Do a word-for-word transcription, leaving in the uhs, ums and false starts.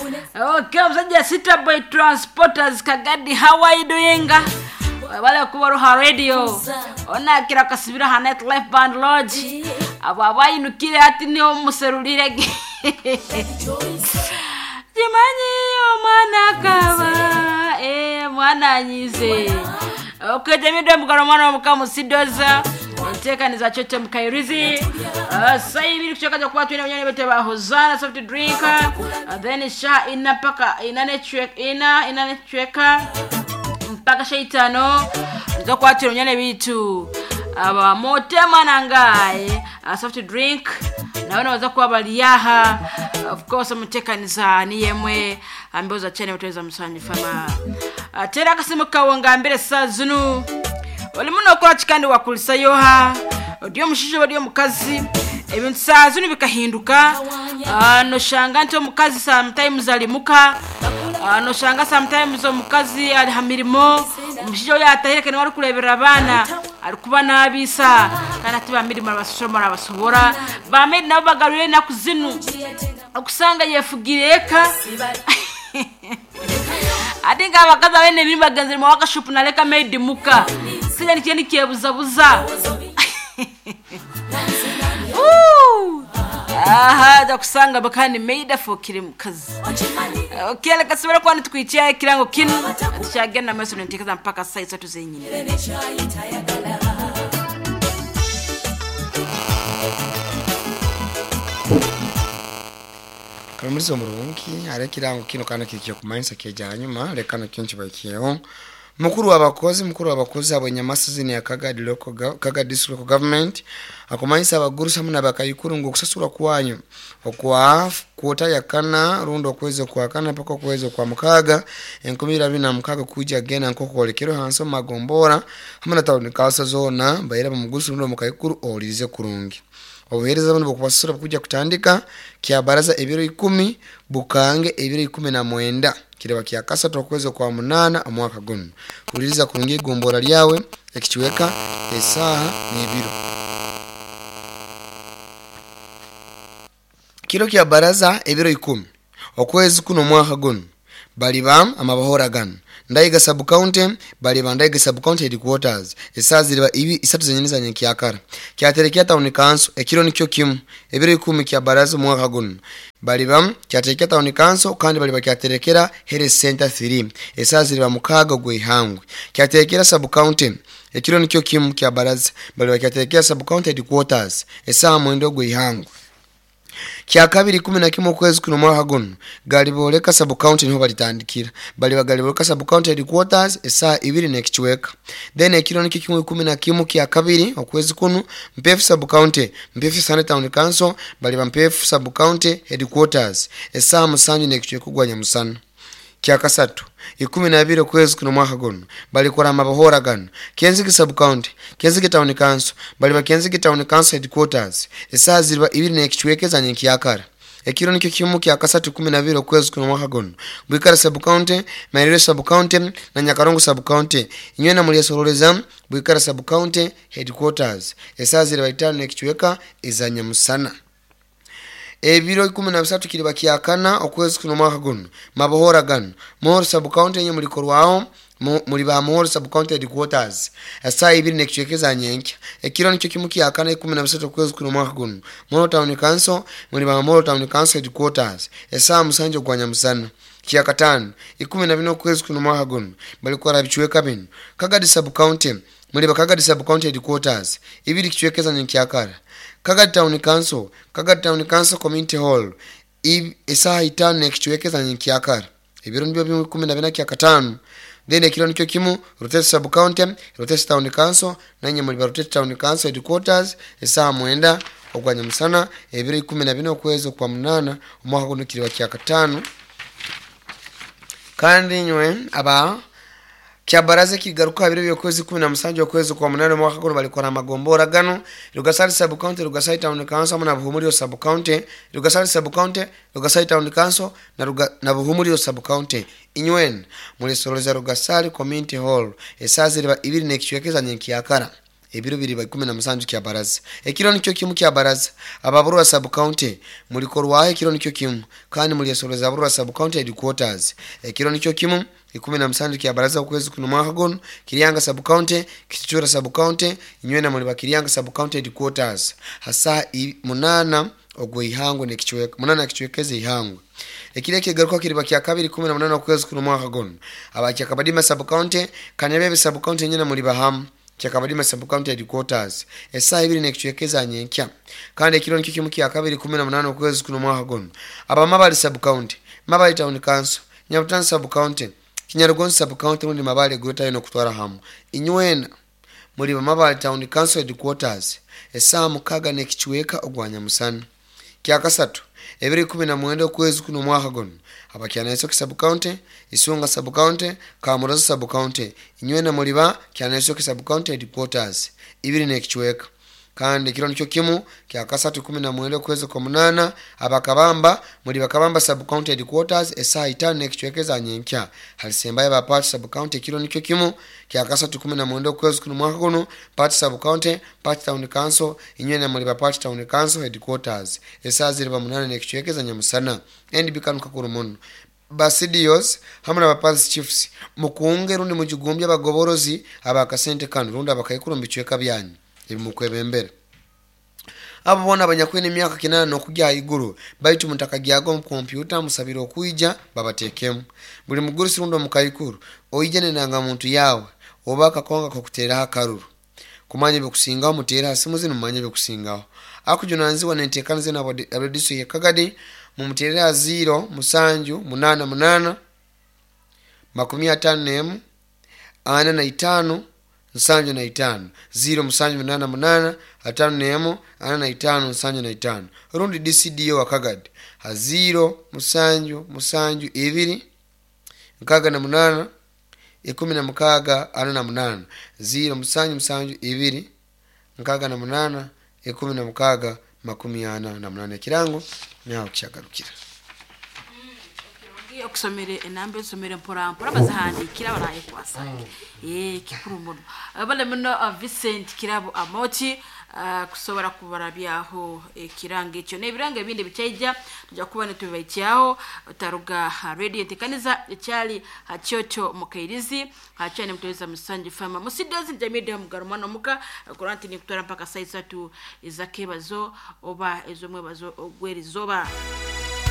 Okay, omusajja City Boy Transporters Kagadi, how are you doing? Wale kuba Ruha Radio onakira kasibira ha Night Life Band Lodge abo abayinukire ati niho muserulire kimanyi omwana akaba eh mwana anyize. Okay, jamido mukalo mwana omukamu sidoza enteekaniza chocho mukairizi uh, saibiri kuchakaza kuba twina bunyani bete ba Hosana soft drink uh, then sha ina paka ina network ina ina network mpaka shaitano nzokwatira bunyane bitu aba motema nangaye uh, soft drink nawe nabaza kuba baliyaha of course omuteekaniza niyemwe ambeoza chene muteza musanyu fama uh, tera akasimu kawe ngambire saa zinu olimu nokola kikandi wakulisa yoha odi omushaija oba ori omukazi ebintu saa zinu bikahinduka. uh, noshanga nti omukazi sometimes ali muka, uh, noshanga sometimes omukazi ali ha mirimo, omushaija oyo atahireke niwe arikureberera abaana arikuba nabiisa kandi ati bamirimo arabashoma arabasobora bamedi nabo bagarure enaku zinu okusanga yefugire eka ati nga abakazi abene ebirimu bagenzere mu wakashupu naleka maidi muka sija nikiye nikyebuzabuza. Aha dakusanga bakani maida fokire mukazi. Okay, leka sibera kwani tukwichia ekirango kinu tukyagenda maaso nenteekeza mpaka saa isatu zenyini. Kamulizo murungi ale kirango kino kana kikyo kumanyisa keja hanyuma leka no kinchi bakiyeho mukuru w'abakozi mukuru w'abakozi abo nyamasizi ni Kagadi local Kagadi district local government akumanyisa abagurusa hamwe n'abakayikuru ngo kusasura kwanyu okwa kuota yakana rundo okwezi kwa kana paka okwezi kwa mukaga enkumi ibiri na mukaga kuja gena nkokolekero hanso magombora hamwe na town council zona bayira bamugurusa rundo mukayikuru olize kurungi obuhereza buno bukubasura kuja kutandika kya baraza ebiro ikumi bukange ebiro ikumi na mwenda kireba kya kasatu okwezi kwa munana omwaka guno kuliriza kurungi gombora lyawe ekikiweka esaha n'ebiro kiro kya baraza ebiro ikumi okwezi kuno mwaka guno baliba amabahora gano Ndaiga sub county baliba Ndaiga sub county headquarters esaha ziriba ibi isatu zenyini za nyenkyakara kyaterekea town council ekiro nikyo kimu ebiro ikumi kya baraza omwaka guno baliba kyaterekea town council kandi baliba kyaterekera health center three esaha ziriba mukaga gw'ihangwe kyaterekera sub county ekiro nikyo kimu kya baraza baliba kyaterekera sub county headquarters esaha mwenda gw'ihangwe kya kabiri kumi na kimwe okwezi kuno mwaka guno galiboleka sub county niho balitandikira baliba galiboleka sub county headquarters esaha ibiri n'ekichweka then ekiro nikyo kimwe kumi na kimu kya kabiri okwezi kuno Mpefu sub county Mpefu Sane town council baliba Mpefu sub county headquarters esaha musanju n'ekichweka gwa nyamusana kya kasatu ikumi na bibiri okwezi kuno mwaka guno balikora amabahora gano Kenzigi sub county Kenzigi town council baliba Kenzigi town council headquarters esaha ziriba ibiri n'ekichweka za nyenkyakara ekiro nikyo kimu kya kasatu kumi na bibiri okwezi kuno mwaka guno Bwikara sub county Mairiro sub county na Nyakarongo sub county inywe na mulyesoroleza Bwikara sub county headquarters esaha ziriba itano n'ekichweka eza nyamusana ebiro ikumi na bisatu kiriba kyakana okwezi kuno mwaka guno mabohora gano Muhoro sub county enye mulikorwaho muli ba Muhoro sub county headquarters esaha ibiri n'ekichweka za nyenkya ekiro nikyo kimu kyakana ikumi na bisatu okwezi kuno mwaka guno Muhoro town council muli ba Muhoro town council headquarters esaha musanju gwa nyamusana kyakatano ikumi na bina okwezi kuno mwaka guno balikora bichweka bino Kagadi sub county muli ba Kagadi sub county headquarters ibiri kichweka za nyenkyakara Kagadi town council Kagadi town council community hall esaha itano n'ekichweka za nyenkyakara ebiro nibyo bimwe kumi na bina kyakatano then ekiro nikyo kimu Rutete sub county Rutete town council nanye muli ba Rutete town council headquarters esaha mwenda ogwa nyamusana ebiro ikumi na bina okwezi kwa munana omwaka guno kiriba kyakatano kandi nywe aba kyabaraza kigaruka biro byokwezi kumi na musanju okwezi kwa munane mwaka guno balikora amagombora gano Rugasari sub county Rugasari town council hamwe na Buhumuriro sub county Rugasari sub county Rugasari town council na Ruga, na Buhumuriro sub county inywen mulisoroleza Rugasari community hall esaha ziriba ibiri n'ekichweka za nyenkyakara Ebiro biri ikumi na musanju kya baraza. Ekiro nikyo kimu kya baraza. Ababurwa sub county mulikorwaho ekiro nikyo kimu kandi mulyesoreza aburwa sub county headquarters. Ekiro nikyo kimu ikumi na musanju kya baraza okwezi kuno mwaka guno Kiryanga sub county, Kichura sub county, inywena muli bakiriyanga sub county headquarters. Hasa munana ogwe ihangwe nekichweka munana kichwekeze ihangwe. Ekile kigaruka kiriba kya kabiri kumi na munana okwezi kuno mwaka guno. Abacha Kabadima sub county, Kanyabebe sub county nyina muli bahamu. Kyakabadima sub county headquarters. Esaa ibiri nekichwekeza nyenkya. Kandi ekiro nikyo kimu kya kabiri kumi na munana okwezi kuno mwaka guno. Abamabali sub county, Mabali town council, Nyabutani sub county, Kinyarugonzi sub county muri Mabali Greater ino kutwara hamu. Inywena muri Mabali town council headquarters. Esaa mukaga nekichweka ogwanya musana. Kya kasatu ebiri kumi na mwenda okwezi kuno mwaka guno. Abakyanaisoko sub county, Isunga sub county, Kamuroza sub county, inywena muri ba Kyanaisoko sub county headquarters. Ibiri nekichweka. Kandi kiro nikyo kimu kya kasatu kumi na mwenda okwezi kwa munana abakabamba muri bakabamba sub county headquarters esaa itano nekichwekeza nyenkya. Halisembaye ba Pati sub county kiro nikyo kimu kya kasatu kumi na mwenda okwezi kuno mwaka guno Pati sub county, Pati town council, inywena muri ba Pati town council headquarters esaa ziriba munana nekichwekeza nyamusana. N B kanu kakuru muno. Basidios hamwe na bapasi chiefs mukunge rundi mujigumbya abagoborozi abakasente kanu rundi abakaikuru mbichweka byanyu ebimukwebembera. Abo bona abanyakwene emyaka kinana nokujya iguru baitu mutakagyago mu kompyuta musabira okuija babatekemu. Buli mugurusi rundi omukaikuru oije nenanga muntu yawe oba akakonga kokuteraho akaruru kumanya bikusingaho mutera simu zino mumanye bikusingaho. Akujunanzibwa nentekanize na abadiso ye Kagadi mumuterera zero musanju munana munana makumi atano nemu ana na itano nsanju na itano zero musanju munana munana atano nemu ana na itano nsanju na itano. Rundi D C D O wa Kagadi ha zero musanju musanju ibiri nkaga na munana ikumi na mukaga ana na munana zero musanju musanju ibiri nkaga na munana ikumi na mukaga makumi ana na munana. Kirango nyaho kishagarukira. Okusomere enamba esomere mpora mpora bazahandikira baraye kwasa. Eh kikuru muno. Abale muno Vincent Kirabo Amoti uh, kusobora kubarabyaho ekirango ekyo n'ebirango ebindi bichaija tujja kuba netubaikyaho taruga radio ntekaniza ekyali hakyoto mukairizi hakyane mutoweza musanji fama musidozi jamide mugarumano muka kuranti ni kutwara mpaka saa tatu ezakebazo oba ezomwebazo ogwerizoba.